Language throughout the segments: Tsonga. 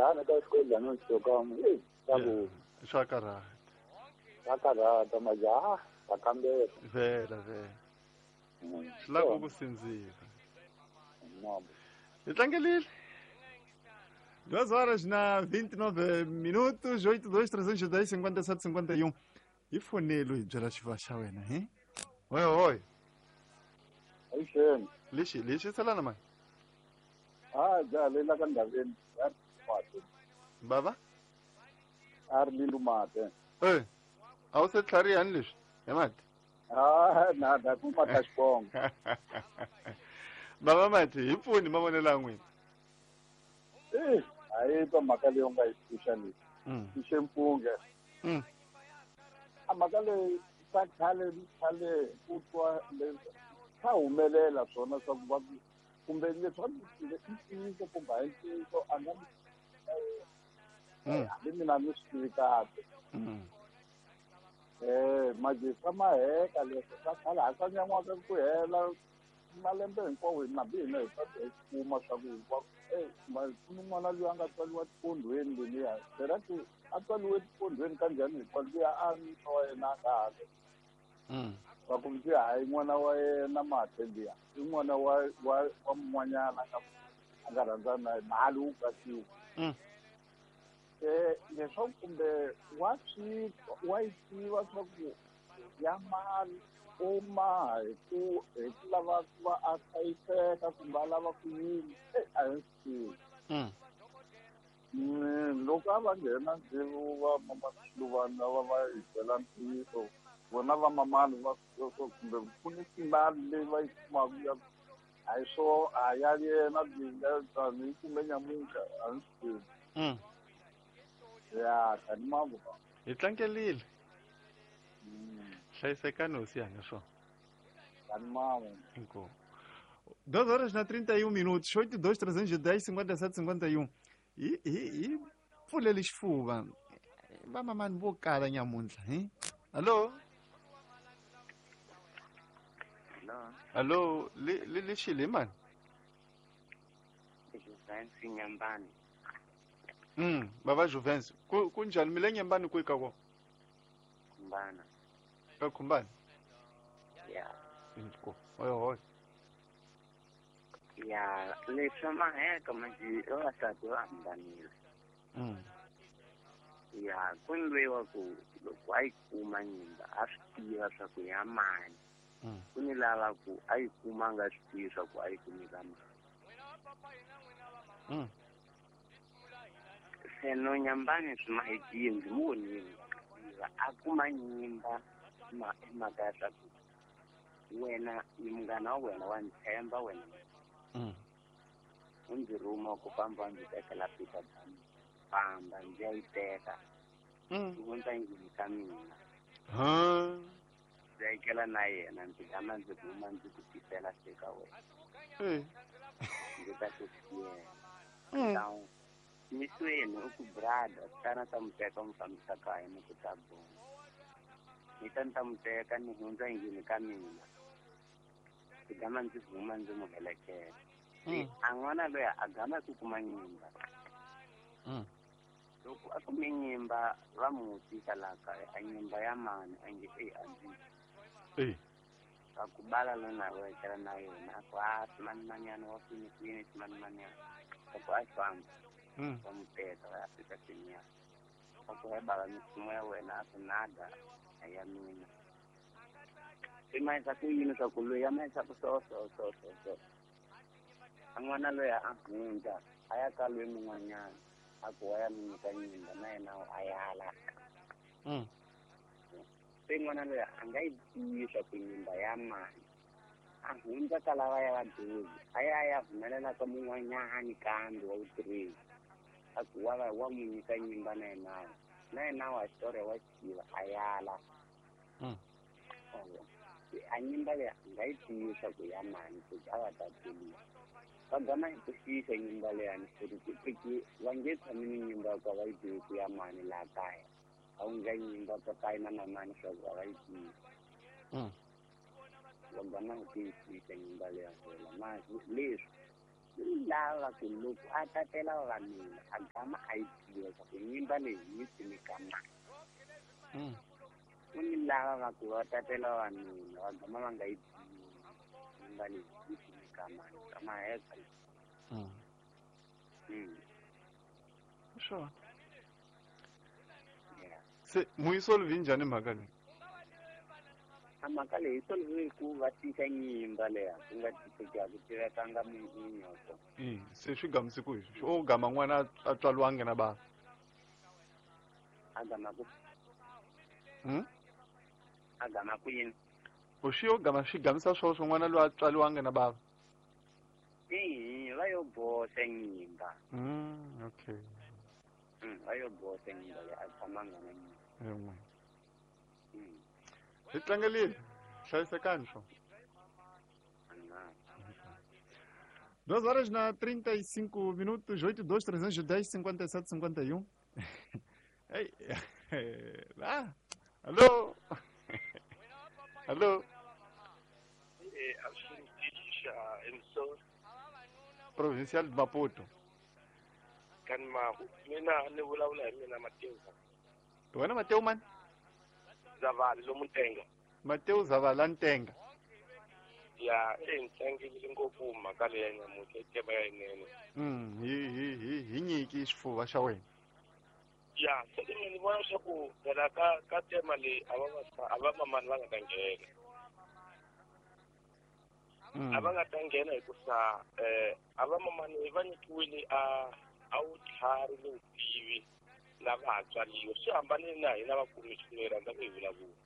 Lana ka xikwelana no xokama eh ta ku swa karhata. Swa karhata majaha va kambela. Vhela vhela. Swi lava ku sindzisa. Hi tlangelile. 2 horas na 29 minutos, 82 310 57 51. Hi fonelo hi byela xiva xa wena, he? Oi, oi. Avuxeni. Lexi, lexi salana mani. Ah, ja le la ka ndhaveni. Ya mate. Bava? A ri lindu mate. Eh. A wu se tlharihani leswi? Hi mati. Ah, na da ku mata xibongo. Bava mati, hi pfuni mavonelo ya n'wina. Eh, a yi twa mhaka leyi u nga yi pfuxa leyi. Pfuxe mpunge. A mhaka leyi swa khale khale ku twa leswi swa humelela swona swa ku va ku kumbe leswi i ntiyiso kumbe a hi ntiyiso a nga hambi mina ni swi tivi kahle. Manje swa maheka leswi swa khale a swa nyan'waka ku hela malembe hinkwawo hina hambi hina hi ta hi kuma swa ku hinkwako ku ni n'wana loyi a nga tswariwa tipondweni leliya sera ku a tswariwe tipondweni ka njhani hinkwayo luya a nuna wa yena a nga hali va ku ndzi hayi n'wana wa yena mathe liya i n'wana wa wa wa mun'wanyana a nga rhandzana na yena mali wu katsiwa. Leswaku kumbe wa swi wa yi tiva swa ku ya mali u maha hi ku lava ku va a hlayiseka kumbe a lava ku yini a hi swi tivi. Loko a va nghena ndzivo va mamaxiluvana lava va hi byela ntiyiso vona va mamani va kumbe ku ni mali leyi va yi kumaka ya a hi swo a ya yena leyi yi kume nyamuntlha a ni swi tivi. Ya tani mambo. Hi tlangelile. Hlayisekani hosi yanga swona. Tani mambo. Inkomu. 2 horas na 31 minutos, 82 310 57 51. Hi pfulele xifuva. Vamamani vo kala nyamuntlha, he? Hallo? Hello. Hallo, le le xile mani? Juventus Nyambani. Baba Juventus. Ku njhani mi le Nyambani kwihi ka kona? Khumbana. Ka Khumbana? Yeah. Inkomu. Oyo hoy. Ya, leswi maheka manje vavasati va hambanile. Ya, ku ndliwa ku loko a yi kuma nyimba a swi tiva swa ku ya mani. Ku ni lava ku a yi kuma a nga swi tivi swa ku a yi kumi ka mani. Se no Nyambani swi mahekile ndzi mu vonile a kuma nyimba mhaka ya swa ku wena ni munghana wa wena wa ni tshemba wena. U ndzi rhuma ku famba ndzi tekela Peter Dam famba ndzi ya yi teka. U hundza endlwini ka mina. Ndzi ya na yena ndzi gama ndzi huma ndzi ku tisela se ka wena. Ndzi ta ku siyela. Misweni u ku brother tana ta mu teka mu fambisa kaya ni ku ta bona. Ni ta ni ta mu teka ni hundza endlwini ka mina. Ndzi gama ndzi huma ndzi mu heleketa. A n'wana loyi a gama ku kuma nyimba. Loko a kume nyimba va mu tisa laha kaya a nyimba ya mani a nge e a ndzi. Va ku bala lona wa etlela na yena a ku a swimanimanyana wa kwini kwini swimanimanyana. Va ku a famba. Va mu teka va ya fika seniya. Va ku he bava misimu ya wena a ku nada a ya mina. Swi mahisa ku yini swa ku loyi ya mahisa ku so so so so so. A n'wana loyi a hundza a ya ka loyi mun'wanyana a ku wa ya mi nyika nyimba na yena a yala. Se n'wana loyi a nga yi tivi swa ku nyimba ya mani. A hundza ka lava ya vadyondzi a ya ya humelela ka mun'wanyani kambe wa vutirheli. A ku wa wa mu nyika nyimba na yena. Na yena wa xitori wa xitiva a yala. A nyimba leyi a nga yi tivi swa ku ya mani ku a va ta tluriwa. Va gama hi ku xiyisa nyimba leyani ku va nge tshami ni nyimba ku va yi tivi ku ya mani laha kaya. A wu nga nyimba papayi na mamani swa ku a va yi tivi. Va gama hi ku yi xiyisa nyimba leya fela. Leswi Lava ku loko a tatela vavanuna a gama a yi tiva swa ku nyimba leyi yi kumeka mani. Ku ni lava va ku va tatela vavanuna va gama va nga yi tivi nyimba leyi yi kumeka mani ka maheka. Sure. Se muyisolve njhani mhaka leyi? A mhaka leyi yi solve ku va tisa nyimba leya ku nga tiseki a ku tivekanga minyoko. Se swi gamise ku hi o gama n'wana a tswaliwangi na bava. A gama ku A gama ku yini? U swi yo gama swi gamisa swoswo n'wana loyi a tswaliwangi na bava. Va yo boxa nyimba. Okay. Va yo boxa nyimba leyi a tshamanga na nyimba. Hi tlangelile hlayisekani swo. 2 horas na 35 minutos, 82 310 57 51. Ei, ah, alô? Alô? Provincial de Maputo. Mina ni vulavula hi mina Mateo. Wena Mateo mani? Zavala lomu Ntenga. Mateo Zavala Ntenga. Ya, ntlangile ngopfu mhaka leyi ya nyamutlha i tema ya yinene. Hi nyiki xifuva xa wena. Ya, se mina ni vona leswaku phela ka tema leyi a va mamani va nga ta nghena. A va nga ta nghena hikusa a va mamani va nyikiwile a vutlhari ni vutivi lava ha tswariwa. Swi hambanile na hina vakumixineri rhandza ku hi vulavula.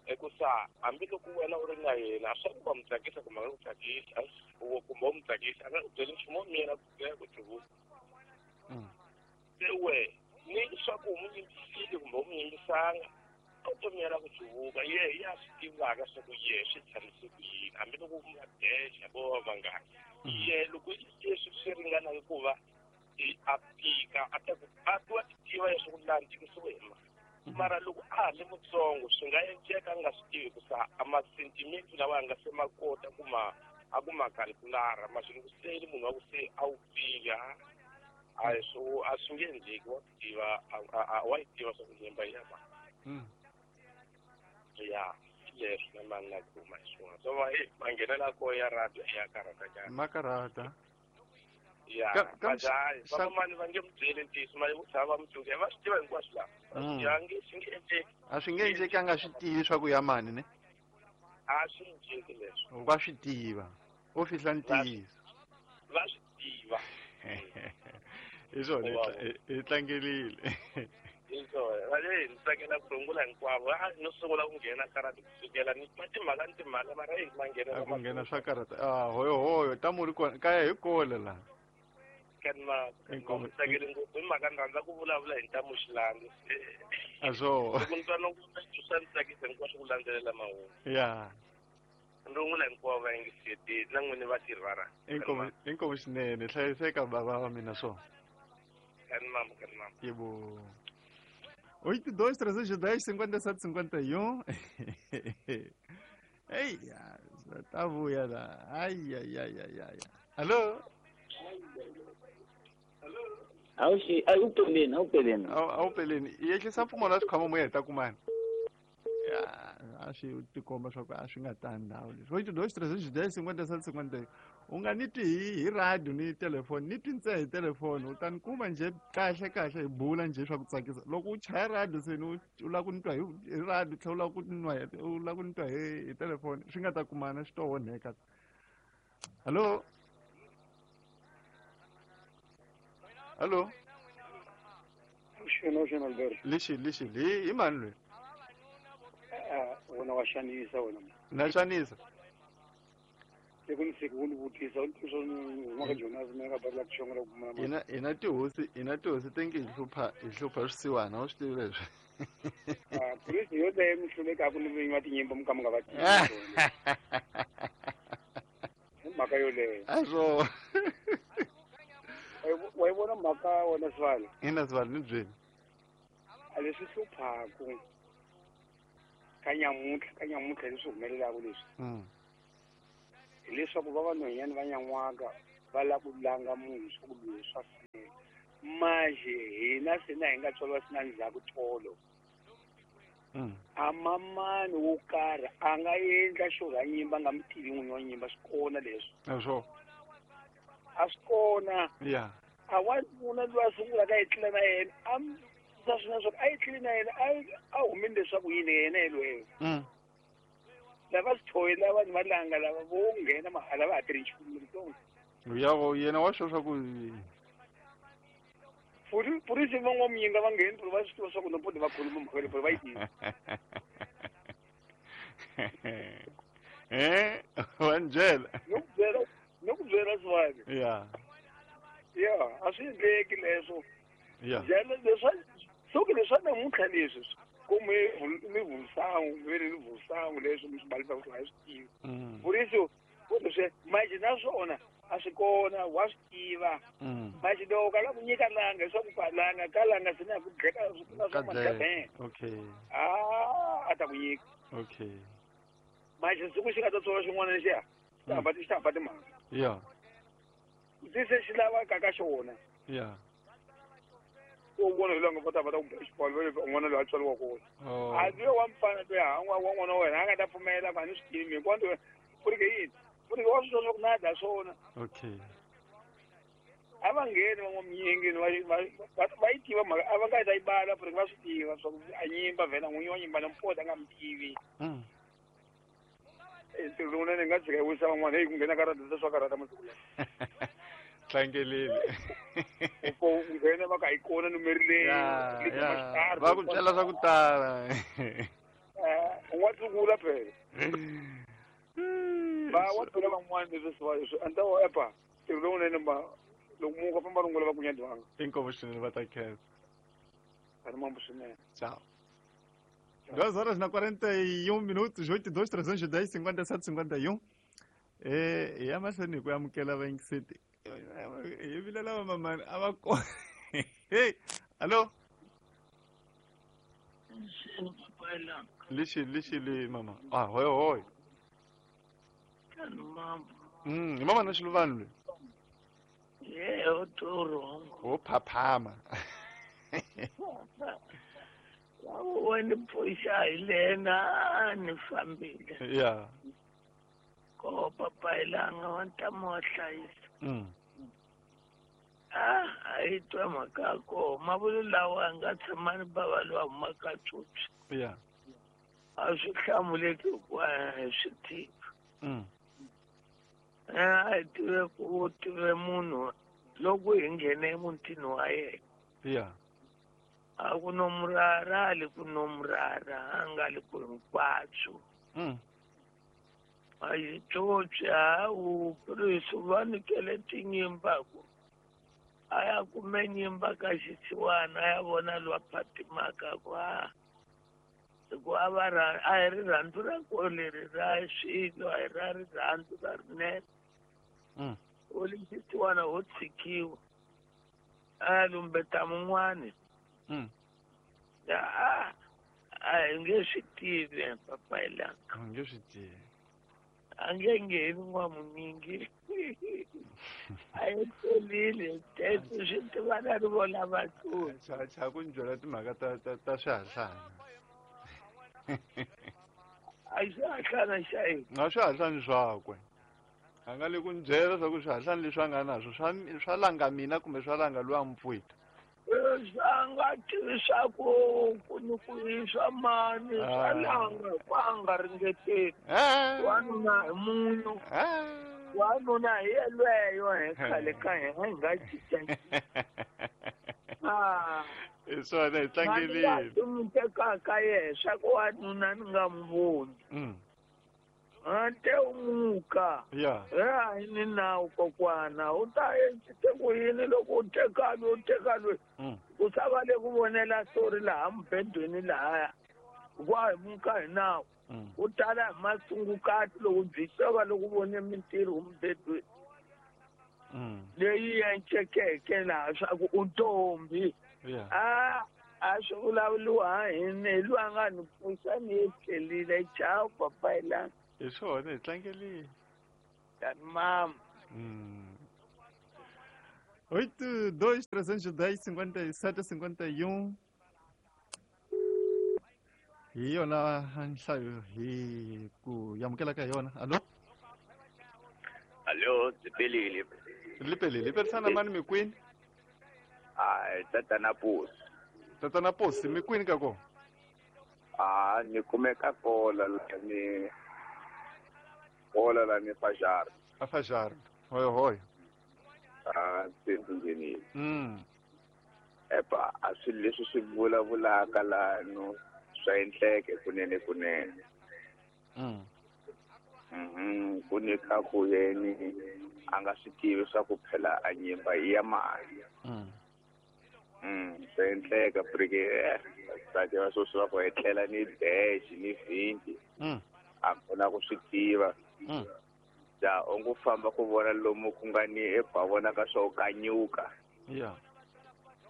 Hikusa hambiloko wena u ri na yena swa ku va mu tsakisa kumbe a nga ku tsakisi, kumbe u mu tsakisa a nga ku byeli nchumu wo miyela ku byela ku tivula. Se we ni swa ku u mu yimbisile kumbe u mu yimbisanga a wu to miyela ku tsivuka ye ya swi tivaka swa ku ye swi tshamise ku yini hambiloko u nga dexa vo va vangani. Ye loko leswi swi ringanaka ku va a tika a ta ku a wa ti tiva leswaku laha ni tikisiwe hi mani. Mara loko a ha ri mutsongo swi nga endleka a nga swi tivi hikusa a ma-sentiment lawa a nga se ma kota ku ma a ku ma calculara ma swi ku se munhu wa ku se a wu pfile a swo a swi nge endleki wa tiva wa yi tiva swa ku nyimba ya mani. Ya leswi na mani na kuma hi swona so va manghenela ko ya radio ya karhata nyana. Ma karhata. Ya, vamamani va nge mu byeli ntiyiso ma vo tshama va mu tsundzuxa va swi tiva hinkwaswo laha. Ya nge swi nge endleki. A swi nge endleki a nga swi tivi swa ku ya mani ne? A swi endleki leswi. Va swi tiva. O fihla ntiyiso. Va swi tiva. Hi swona hi tlangelile. Hi swona. Va le ni tsakela ku rungula hinkwavo. A no sungula ku nghena karata kusukela ni timhaka ni timhaka mara hi manghena. A ku nghena swa karata. Ah, hoyo hoyo tamu ri kona kaya hi kole laha. Kanma tsakele ngopfu hi mhaka ni rhandza ku vulavula hi ntamu Xilandzi. A swo. Loko ni twa loko swa ni tsakisa hinkwaswo ku landzelela mahungu. Ya. Rungula hinkwavo va yingiseti na n'wini va tirhi va ra. Inkomu swinene hlayiseka bava wa mina swo. Kanma kanma. Yebo. 82 310 57 51. Ei, tá vuya la. Ai ai ai ai ai. Alô? Awuxi, awupeleni, awupeleni. Awupeleni. Yehlisa mpfumo la xikhwama mo heta kumani. Ya, a swi tikomba swa ku a swi nga tani ndhawu leswi. 82 310 57 51. U nga ni twi hi radio ni telefoni, ni twi ntsena hi telefoni, u ta ni kuma njhe kahle kahle hi bula njhe swa ku tsakisa. Loko u chaya radio se ni u lava ku ni twa hi radio tlhela u lava ku nwa u lava ku ni twa hi telefoni, swi nga ta kumana swi to onheka. Hallo? Hallo? Xona xona Alberto. Lexi lexi hi mani loyi? Wena wa xanisa wena. Na xanisa. Loko ni fika u ni vutisa u ni swa huma ka Jonas mina ka bala ku xongela ku kuma. Ina tihosi, ina tihosi te nge hi hlupha swisiwana, u swi tivi leswi. Ah, police yo leyi mi hlulekaka ni vinyi va tinyimba mi ka mi nga va tivi. Hi mhaka yoleyo. A swo. Wa yi vona mhaka wena Sibali? Ina Sibali ni byeli. A leswi hluphaku ka nyamuntlha leswi humelelaka leswi. Hileswaku va vanhwanyana va nyan'waka va lava ku langa munhu swa ku loyi swa fanela. Manje hina se na hi nga tswariwa sina ndzhaku tolo. A mamani wo karhi a nga endla xo ra nyimba a nga mi tivi n'winyi wa nyimba swi kona leswi. A swi kona. Yeah. A wanuna loyi a sungulaka a etlela na yena a sa swina swa ku a etleli na yena a humile leswaku yini yena yelweyo. Lava swi lava vanhu va langa lava vo nghena mahala va ha tirhi nchumu letsongo. Ya go yena wa swo swa ku purisi van'wamuyinga va ngheni va swi tiva swa ku nompodi va khuluma mhaka leyi va yi tiva. Wa njela. No ku byela swani. Yeah. Yeah, a swi endleki leswo. Yeah. Leswa soke leswa namuntlha leswi ku mi vusangu mi ri vusangu leswi mi swi balisa ku a swi tivi. Purisi ku leswi manje naswona a swi kona wa swi tiva. Manje loko ka la ku nyika langa leswaku pa langa ka langa swi na ku dleka swi na swa madlabeng. Okay. A ta ku nyika. Okay. Manje siku xi nga ta tswala xin'wana lexiya xi ta hamba timhaka. Yeah. Se xi lava ka ka xona. Yeah. U vona hi langa va ta ku xibalo un'wana loyi a tswariwa kona. A loyi wa mfana loyi wa n'wana wa wena a nga ta pfumela va ni swi tivi hinkwato ku ri ke yini. Ku ri wa swi twa swa ku na dya swona. Okay. A va ngheni van'wamuyingini va yi tiva mhaka a va nga ta yi bala ku ri va swi tiva swa ku a nyimba vhela n'winyi wa nyimba na mpota a nga mi tivi. Ntirho lowunene hi nga tshika hi wisa van'wana heyi ku nghena ka rada swa karhata masiku lawa. Tlangelile. Ku nghena va ka yi kona numeri leyi. Va ku byela swa ku tala. U nga tsungula phela. Va wa byela van'wana leswi swi a ni ta wa epa ntirho lowunene ma loko munhu a famba rungula va ku nyadwanga. Inkomu swinene va ta khensa. A ni mambo swinene. Ciao. 2 horas na 41 minutos, 82 310 57 51. E ya mahlweni hi ku amukela vayingiseti. Hi vilela vamamani a va kona. Hey, allo. Lixi li mama. Ah, hoy hoy. Hi mama na Xiluvani loyi. Ye, o toro. O phaphama. Wa ni pfuxa hi lena ni fambile. Yeah. Ko papayilanga wa ntamu wa hlayisa. A yi twa mhaka ya koho mavulu lawa a nga tshama ni bava lowa humaka tsotsi. Yeah. A swi hlamuleki hikuva hi swi tivi. A hi tive ku tive munhu loko hi nghene emutini wa yena. Yeah. A ku no murara a li ku no murara a nga li ku hinkwaswo. A yi tsotsi a wu purisi va nyikele tinyimba ku a ya kume nyimba ka xisiwana a ya vona lowa phatimaka ku a hikuva a va a hi rirhandzu ra ko leri ra swilo a hi ra rirhandzu ra rinene. U li xisiwana ho tshikiwa a ya lumbeta mun'wani. A hi nge swi tivi papayilanga. A nge swi tivi. A nge ngheni n'wamunyingi. A yi tsolile teto swi tivana ri vona vatsoni. Cha ku ni byela timhaka ta swihahlana. A swihahlana xa yini? A swihahlani swakwe. A nga le ku ni byela swa ku swihahlani leswi a nga naswo swa langa mina kumbe swa langa loyi a mi pfuta. Swa nga tivi swa ku ku ni ku i swa mani swa langa ku a nga ringeteli. Wanuna hi munhu. Wanuna hi yelweyo hi khale ka hina hi nga cinca. Hi swona hi tlangelile. Mi tekaka yehe swa ku wanuna ni nga mi voni. Te u muka. Yeah. A hi ni nawu kokwana u ta endlise ku yini loko u teka loyi u teka loyi. U sa va le ku vonela story laha mubedweni lahaya. Hikuva hi muka hi nawu. U tala hi masungukati loko byi va loko vone mintirho mubedweni. Leyi encekeke laha swa ku u ntombi. A swi vulavuriwa hi ni hi loyi a nga ni pfuxa ni yi tlhelile. Ciao papayilanga. Hi swona hi tlangelile. Tani mama. 8 2 310 57 51. Hi yona nhlayo hi ku amukela ka yona. Allo? Allo, Zipelile. Lipelile, perisana mani mikwini? Ai, tatana Posi. Tatana Posi, mikwini ka ko? Ah, ni kumeka kola la ni kola la ni Fajar. A Fajar. Hoi hoi. Ah, sindini. Epa, a swi leswi swi vulavulaka la no swa endleke kunene kunene. Ku nyika ku yeni a nga swi tivi swa ku phela a nyimba i ya mali. Swa endleka porque vasati va sweswi va ku etlela ni dash ni 20. A kona ku swi tiva. Ja u ngo famba ku vona lomu ku nga ni epa vonaka swo kanyuka.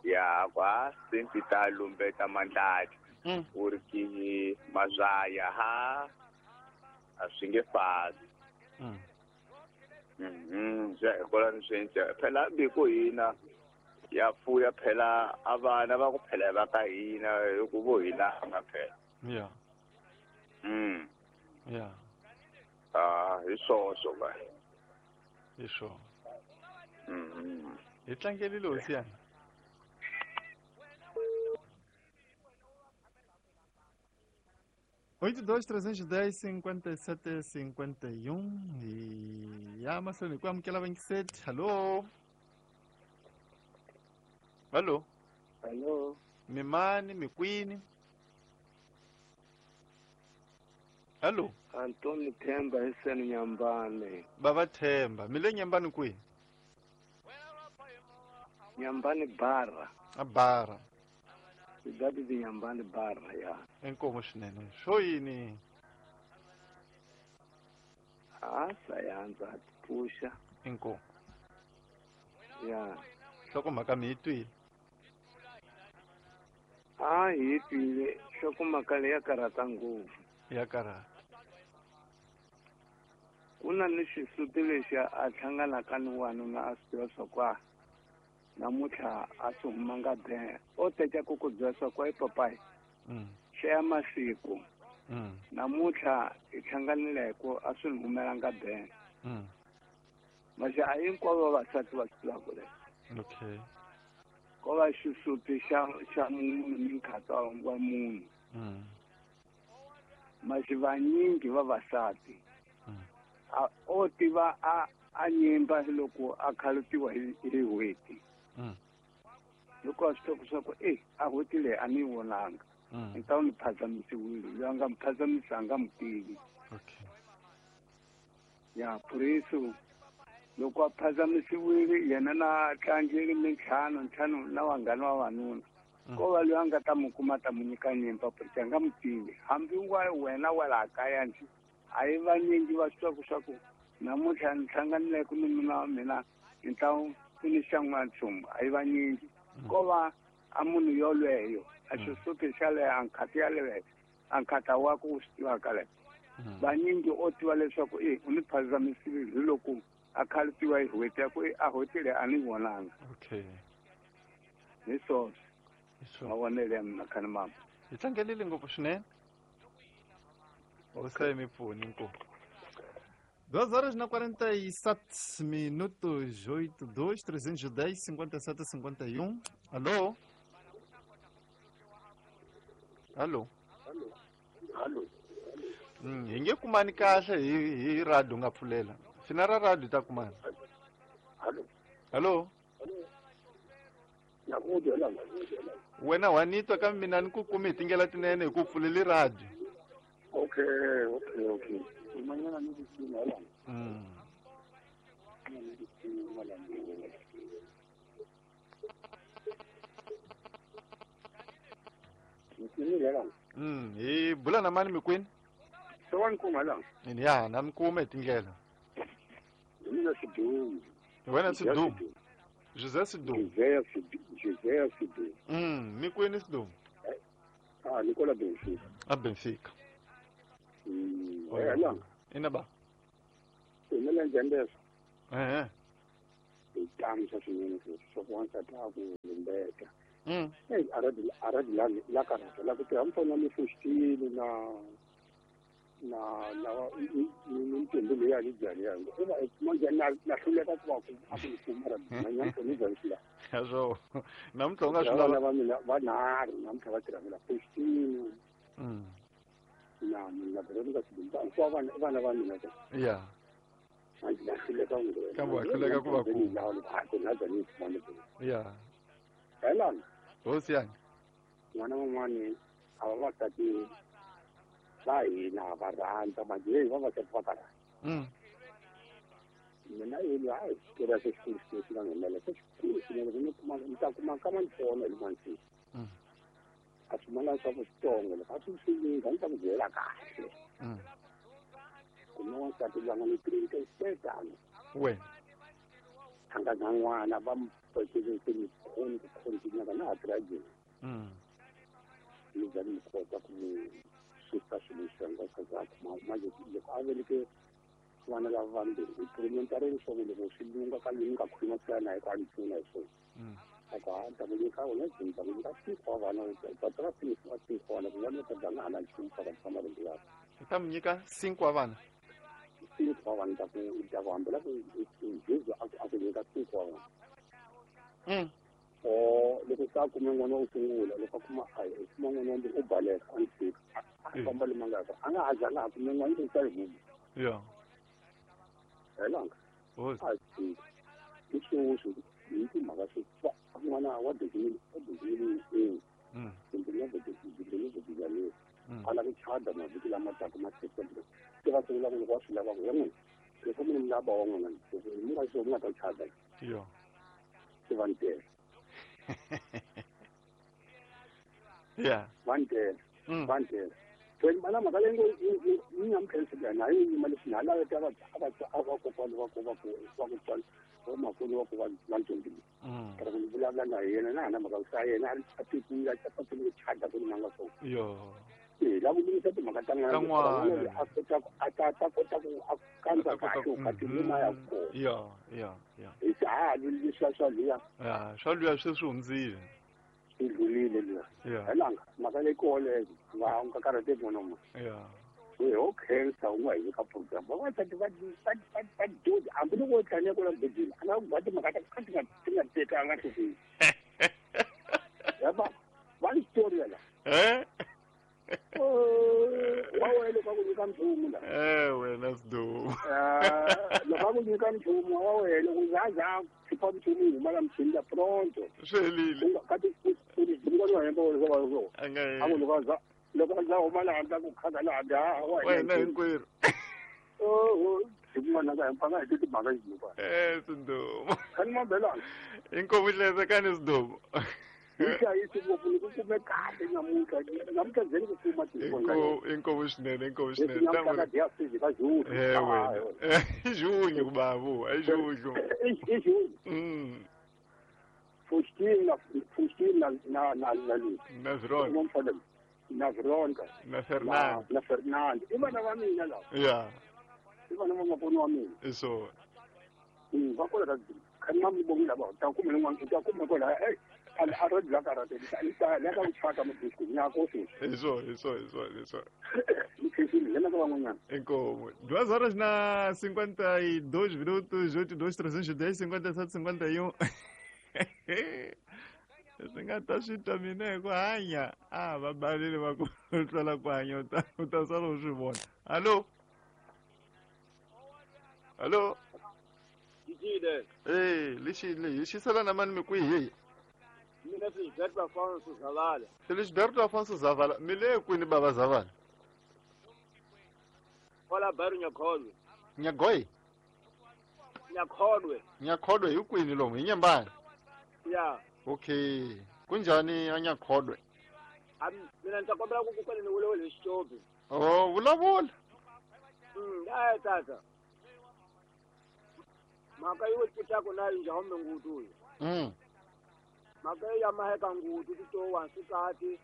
Ya kwa senti ta lumbeta mandlati. U ri ki mazaya ha a swi nge fasi. Ja hikwalaho ni swi endla phela hambi ku hina ya fuya phela a vana va ku phela va ka hina hi ku vo hi langa phela. Ah, hi swoswo va. Hi swona. Hi tlangelile hosi yana. 8 2 310 57 51 e ya mahlweni ku amukela vangiseti. Hallo? Hallo? Hallo. Mimani mikwini? Hallo? Antoni Themba hiseni Nyambane. Baba Themba, mi le Nyambane kwihi? Nyambane Bara. A Bara. That is Nyambane Bara, ya. Inkomo swinene. Swo yini? A sayanza pfusha. Inkomo. Ya. Nhlokomhaka mi yi twile? A hi twile. Nhlokomhaka leyi ya karhata ngopfu. Ya karhata. Ku na ni xisuti lexi a hlanganaka ni wanuna a swi tiva swa ku a namuntlha a swi humanga be. O teka ku ku byela swa ku ai papayi. Hlaya masiku. Namuntlha hi hlanganile hi ku a swi ni humelanga be. Masi a hinkwavo vavasati va swi tivaka leswi. Okay. Ko va xisuti xa munhu ni nkhatsa wa munhu. Masi vanyingi vavasati a o tiva a nyimba loko a khalutiwa hi n'hweti. Loko a swi tiva swa ku a n'hweti leyi a ni yi vonanga. Ni ta ni phazamisiwile, loyi a nga mi phazamisa a nga mi tivi. Okay. Ya puriso loko a phazamisiwile yena na tlangeli mintlhanu ntlhanu na vanghana va vanuna. Ko va loyi a nga ta mi kuma ta mu nyika nyimba porque a nga mi tivi. Hambi wa wena wa laha kaya njhe a yi vanyingi va swi tiva swa ku namuntlha ni hlanganile ku ni nuna wa mina ni ta ku ni xa n'wanchumu a yi vanyingi. Ko va a munhu yolweyo a xisuti xa leyo a nkhati yaleyo a nkhata wa ku swi tivaka leyo. Vanyingi o tiva leswaku u ni phazamisile hi loko a khalutiwa hi n'hweti ya ku a n'hweti leyi a ni vonanga. Okay. Hi swoswo. Mavonelo ya mina khani mama. Hi tlangelile ngopfu swinene. Hosi mi pfuni inkomu. 2 horas na 47 minutos, 8 2 310 57 51. Alô? Alô? Alô? Hi nge kumani kahle hi radio nga pfulela. Fina ra radio ta kumana. Alô? Alô? Wena wa ni twa kambe mina ni ku kumi hi tindlela tinene hi ku pfuleli radio. Okay, okay, okay. Umanyana ni ku la. Hi bula na mani mikwini? Se wa ni kuma la. Ya, na mi kuma hi tindlela. Hi mina Sidumo. Hi wena Sidumo. José Sidumo. José Sidumo. Mikwini Sidumo. Ah, Nicola Benfica. A Benfica. La. Ina ba. Humelela njhani leswo? Hi tano swa swinene sweswo swa ku wansati a ku lumbeta. Eyi a ra la karhata la ku tirha mufana ni fuxitile na na na ni ntombi leyi a ni byali yanga i va manje na hluleka ku va ku a ku ni kuma ra namuntlha ni byali swi lava swo namuntlha u nga swi lava vana va mina vanharhu namuntlha va tirha mina fuxitile na na Veronica Sidimba hinkwavo vana vana va mina ka ya manje na hluleka kambe wa hluleka ku va kuma ya helana hosi yanga n'wana van'wani a va vasati va hina va rhandza manje heyi vavasati va karhata mina yeli hayi xitori se xikulu xikulu xi nga nghenela se xikulu swinene ku ni kuma ni ta kuma ka mantsona hi mansini a swi mana swa ku switsongo loko a swi swi a ni ta ku byela kahle ku na wansati loyi a nga ni trinkesetano wena a nga na n'wana va mu pfekele se ni khoni ku khontinyaka na ha tirha jeni ni za ni kota ku mu susa swilo leswi nga swa ku manje loko a veleke vana lava vambirhi improvement a ri leswaku loko swi lunga ka ni nga khuluma swi na hi ku a ni pfuna hi swona a ku ha ta ku nyika wena jini ta ku nyika cinco wa vana ta ta cinco wa cinco wa vana ku vana ta nga ha na nchumu swa ka marungu yakwe i ta mi nyika cinco wa vana cinco wa vana ta ku ta ku hambela ku jesu a ku nyika cinco wa vana o loko se a kume n'wana wo sungula loko a kuma a kuma n'wana wa mbirhi u baleka a ni tshika a famba le mangaka a nga ha zanga a kume n'wana u ta yi huma ya helanga a tshika hi sweswi hi timhaka swo n'wana wa dezimile kumbe na dezimile a lava ku chada mavhiki lama taka ma September se va sungula ku loko wa swi lava ku ya n'wina loko mi ni lava wa n'wina loko mi nga swi mi nga ta chada yo se va ni tele yeah va ni tele va ni tele so mana mhaka leyi ngo yi nga mi khensi na yi yima leswi na lava ta va a va kokwana va ku va ku va ku tswala vamakulu va ku va va ntombile kara ku ni vulavula na yena na hana mhaka sa yena a tekiwile a patile ku chada ku ni manga swona yo e la ku lunghisa timhaka ta n'wana a kota ku a ta ta kota ku a kandza kahle u kati luma ya kona yo yo yo hi se ha leswiya swa luya ya swa luya sweswi hundzile swi dlulile luya helanga mhaka leyi koleyo va u nga karhateki n'wana wa ya we ho khensa u nga hi nyika program vavasati va va dyondza hambi loko wo tlanya kwala mubedweni a nga ku ba timhaka ta ka ti nga ti nga tekanga nhlokweni yaba va ni xitori yala wa wena loko a ku nyika nchumu la wena sidumo loko a ku nyika nchumu wa wena loko za za khipha nchumu yi huma la muchini la pronto swi helile kati u ni wa hemba wa a ku loko a za loko a za huma la handle ku khaka la handle ha wa wena hinkwerhu oho hi kun'wana ka hempanga hi timhaka yinuka sidumo khani mabelana inkomu hlezekani sidumo hi hlayisi ngopfu ni ku kume kahle namuntlha namuntlha ndzeni ku kuma inkomu swinene inkomu swinene ka junho wena junho ku bavu i junho i junho Faustina Faustina na na na na Veronica na Veronica na Fernando na Fernando i vana va mina lava ya i vana va maponi wa mina i swona va kola ka khani ma mi vonile lava ta kuma rin'wana u ta kuma kwala a ro dla karate ni ta la ka ku chata mudisco nyako sweswi hi swona hi swona hi swona hi swona ni khensile yena ka van'wanyana inkomu 2 horas na 52 minutos 82 310 57 51 swi nga ta swi twa mina hi ku hanya a va balile va ku tlwela ku hanya u ta sala u swi vona hallo hallo lexi hi xisela na mani mi kwihi heyi mina Felisberto Afonso Zavala Felisberto Afonso Zavala mi le kwini bava Zavala kwala baru Nyakholwe Nyagoyi Nyakholwe Nyakholwe hi kwini lomu hi Nyembani ya okay kunjhani a Nyakholwe mina ni ta kombela ku kwele ni vulavula hi Xitsonga oh vulavula a tata mhaka yo pfutaka na yi njhani ngutu mhaka ya maheka ngutu ti to wansikati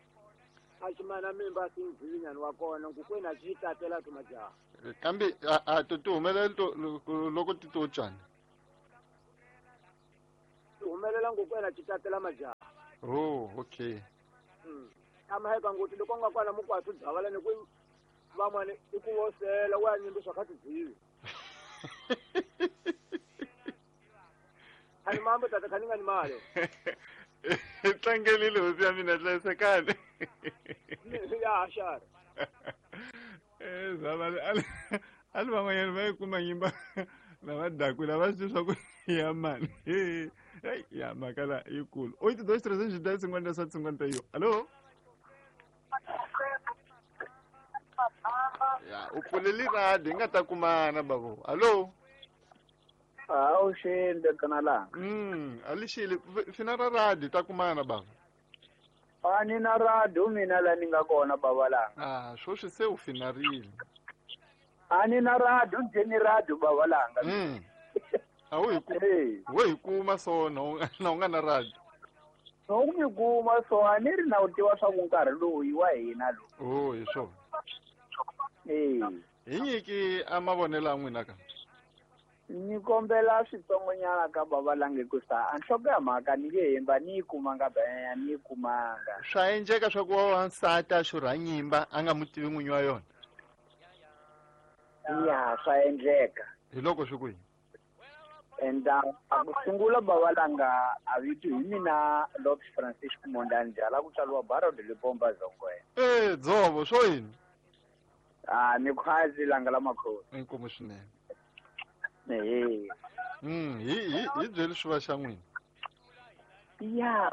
A ximana mimba sindzivinyani wa kona nkukwena a xi tatela to majaha. Kambe a to ti humelela loko ti to cana. Ti humelela nkukwena xi tatela majaha. Oh, okay. Amaheka ngoti loko nga kwana mukwathu dzavala ni ku van'wani i ku vosela wa nyimbiswa kha tidzivi. Ani mambo tata khani nga ni mali. Tlangelile hosi ya mina hlayisekani. Ya xara. Zavale ali van'wanyana va yi kuma nyimba lava dakwile va swi swa ku ya mani. Hey, ya mhaka la yikulu. 8 2 3 10 57 51. Allo? Ya, u pfuleli radio hi nga ta kumana babo. Allo? Awu xende kana langa. Alixile fina ra radio ta kumana baba. Ani na radio mina la ni nga kona baba langa. Ah, sweswi se u finarile. Ani na radio nje radio baba langa. Awu hi ku we hi kuma so na u nga na radio. No mi kuma so ani ri na u tiva swa ku nkarhi lowu wa hina lowu. Oh, hi swona. Hi nyiki a mavonelo ya n'wina ka. Ni kombela switsongonyana ka baba lange ku sa a nhloko ya mhaka ni nge hemba ni yi kumanga benya ni yi kumanga. Swa endleka swa ku wansati a xurha nyimba a nga mu tivi n'winyi wa yona. Ya, swa endleka. Hi loko swi kwihi? And a ku sungula baba langa a vito hi mina Lopes Francisco Mondani Jala ku tswariwa Barão de Lipomba Zongwe. Dzovo swo yini? Ah, ni khwazi langa la makhosi. Inkomu swinene. Hi hi byeli swi va xa n'wina. Ya,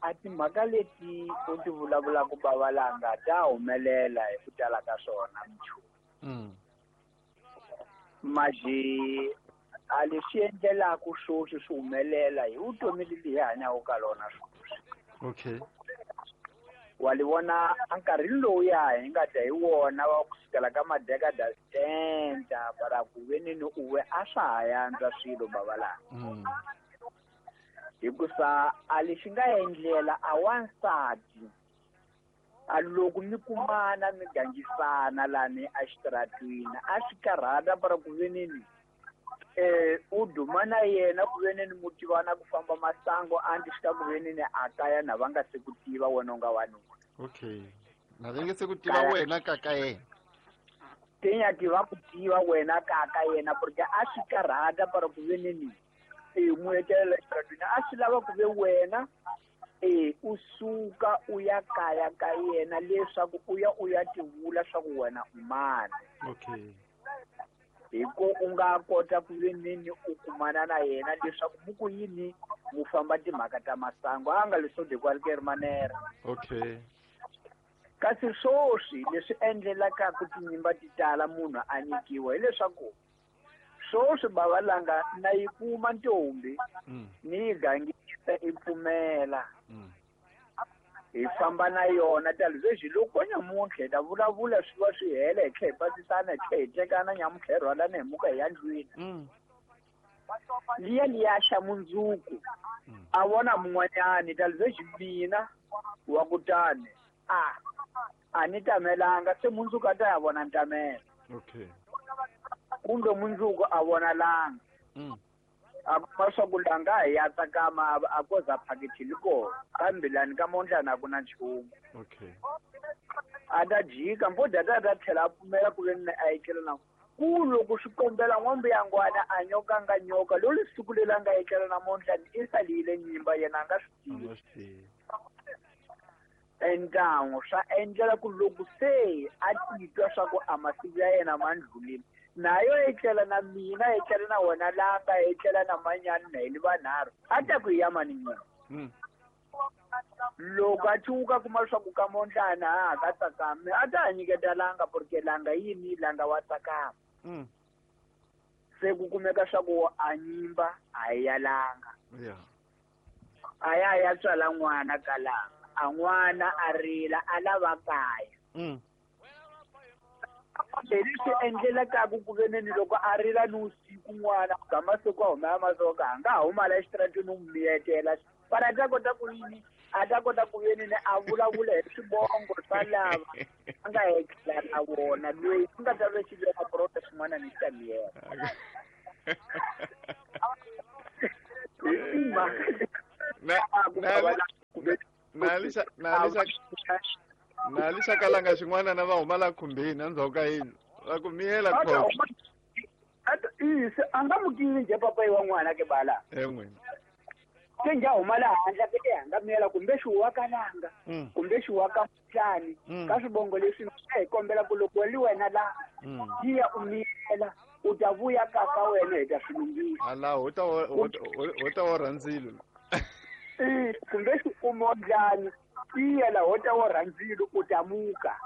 a timhaka leti u ti vulavulaka baba langa ta humelela hi ku tala ka swona mchu. Maji a leswi endlelaka sweswi swi humelela hi vutomi lebyi hi hanyaka ka lona sweswi. Okay. Wa li vona a nkarhini lowuya hi nga ta hi wona wa kusukela ka madekada 70 para ku veneni uwe a swa ha yantswa swilo baba langa. Hikusa a lexi nga endlela a wansati a loko mi kumana mi gangisana lani a xitaratwini a swi karhata para ku veneni u duma na yena ku veneni mu tivana ku famba masango a ndzi xika ku veneni a kaya na va nga se ku tiva wena u nga wanuna. Okay. Na va nge se ku tiva wena ka ka yena. Tinyaki va ku tiva wena ka ka yena porque a swi karhata para ku veneni mu etlela xitaratwini a swi lava ku ve wena u suka u ya kaya ka yena leswaku u ya u ya tivula swa ku wena u mani. Okay. Hi ku u nga kota ku veneni u kumana na yena leswaku mu ku yini mu famba timhaka ta masango a nga leswo de qualquer manera. Okay. Kasi sweswi leswi endlelaka ku tinyimba ti tala munhu a nyikiwa hileswaku sweswi baba langa na yi kuma ntombi ni yi gangisa i pfumela. Hi famba na yona talivexi loko nyamuntlha hi ta vulavula swi va swi hela hi tlhela hi pasisana hi tlhela hi tekana nyamuntlha hi rhwalana hi muka hi ya ndlwini. Liya liya xa mundzuku a vona mun'wanyani talivexi mina wa kutani a ni tamelanga se mundzuku a ta ya vona ntamela. Okay. Kumbe mundzuku a vona langa. A kuma swa ku langa hi ya tsakama a koza phakiti liko kambe lani ka mondlana a ku na nchumu. Okay. A ta jika mbo data ta tlhela a pfumela ku veni a etlela na ku loko swi kombela n'wambuyangwana a nyoka nga nyoka lolu siku leri a nga etlela na mondlani i salile nyimba yena a nga swi tivi. Entangu swa endlela ku loko se a titwa swa ku a masiku ya yena ma ndlulile nayo etlela na mina etlela na wena langa etlela na manyani na hili vanharhu a ta ku ya mani nyina. Loko a chuka kuma leswaku ka mondlana a ka tsakami a ta nyiketa langa porque langa yini langa wa tsakama. Se ku kumeka swa ku a nyimba a ya langa. Yeah. A ya ya tswala n'wana ka langa a n'wana a rila a lava kaya. Leswi endlelaka ku veneni loko a rila ni usiku n'wana ga masiku a huma ya masoka a nga ha huma la exitarateni u miyetela Para ta kota ku yini a ta kota ku yini ne a vulavula hi swivongo swa lava a nga hekela na vona loyi ku nga ta ve xi veka prota xin'wana ni xa miyela. Na lixa kalanga xin'wana na va huma la khumbini endzhaku ka yindlu va ku miyela khona. A nga mu tivi njhe papayi wa n'wana ke bala. En'wini. Se njhe a huma la handle ke a nga miyela kumbe xi wa kalanga kumbe xi wa ka mhlani ka swivongo leswi hi kombela ku loko li wena la tiya u miyela u ta vuya ka ka wena hi ta swi lunghisa. Ala ho ta orha ndzilo. Kumbe xi kuma ndlani tiya la ho ta orha ndzilo u ta muka.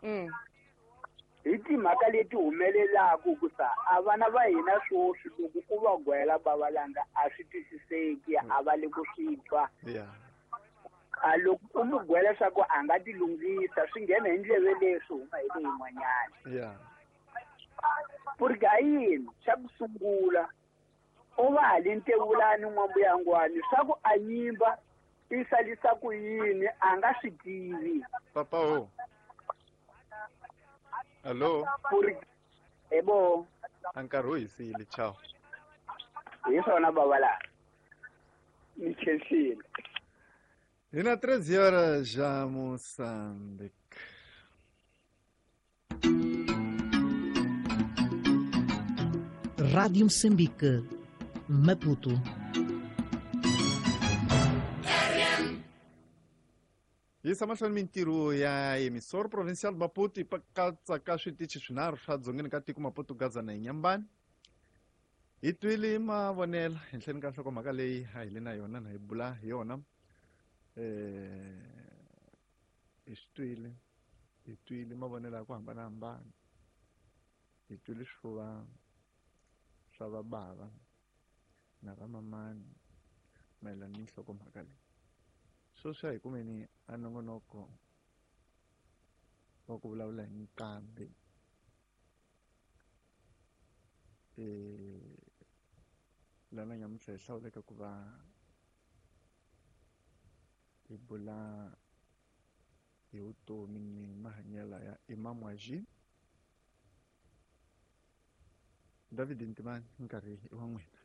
Hi timhaka leti humelelaku ku sa a vana va hina swoswi loko ku va gwela bavalanga a swi twisiseki a va le ku swi twa. A loko u mu gwela swa ku a nga ti lunghisa swi nghena hi ndleve leswi huma hi leyin'wanyana. Porque a yini xa ku sungula u va hali ntevulani n'wambuyangwani swa ku a nyimba i salisa ku yini a nga swi tivi. Papa ho. Allo. Ebo. A nkarhi wu hisile, ciao. Hi swona baba la. Ni khensile. Hi na 13 horas já Moçambique. Rádio Moçambique, Maputo. Yisa mahlweni mintirho ya emissor provincial Maputo yi katsa ka switichi swinharhu swa dzongeni ka tiko Maputo, Gaza na Inhambane. Hi twile mavonelo henhleni ka nhlokomhaka leyi a hi le na yona na hi bula hi yona. Hi swi twile, hi twile mavonelo ya ku hambanahambana. Hi twile swifuva swa vabava na vamamani mayelana ni nhlokomhaka leyi. Sweswi a hi kumeni a nongonoko wa ku vulavula hi nqambi. Lana nyamuntlha hi hlawuleka ku va hi bula hi vutomi ni mahanyelo ya Imam Waji. David Ntimani, nkarhi i wa n'wina.